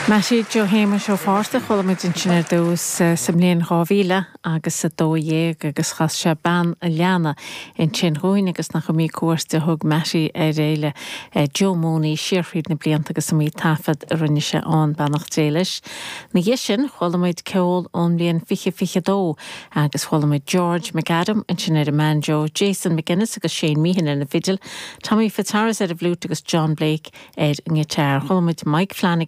Mattie Joe Shéamuis Ó Fátharta, chuala muid ansin ar dtús sa mbliain 2000 agus 12 agus chas sé Bean a' Leanna ansin dhúinn agus nach iomaí cuairt a thug Mattie ar fhéile Joe Mooney siar thríd na blianta agus iomaí taifead a rinne sé ann, beannacht Dé leis. Ina dhiaidh sin chuala muid ceol ón mbliain 2022 agus chuala muid George McAdam ansin ar an mbanjo, Jason McGuinness agus Shane Meehan ar na fidil, Tommy Fitzharris ar an bhfliúit agus John Blake ar an ngiotár. Chuala muid Mike Flanagan.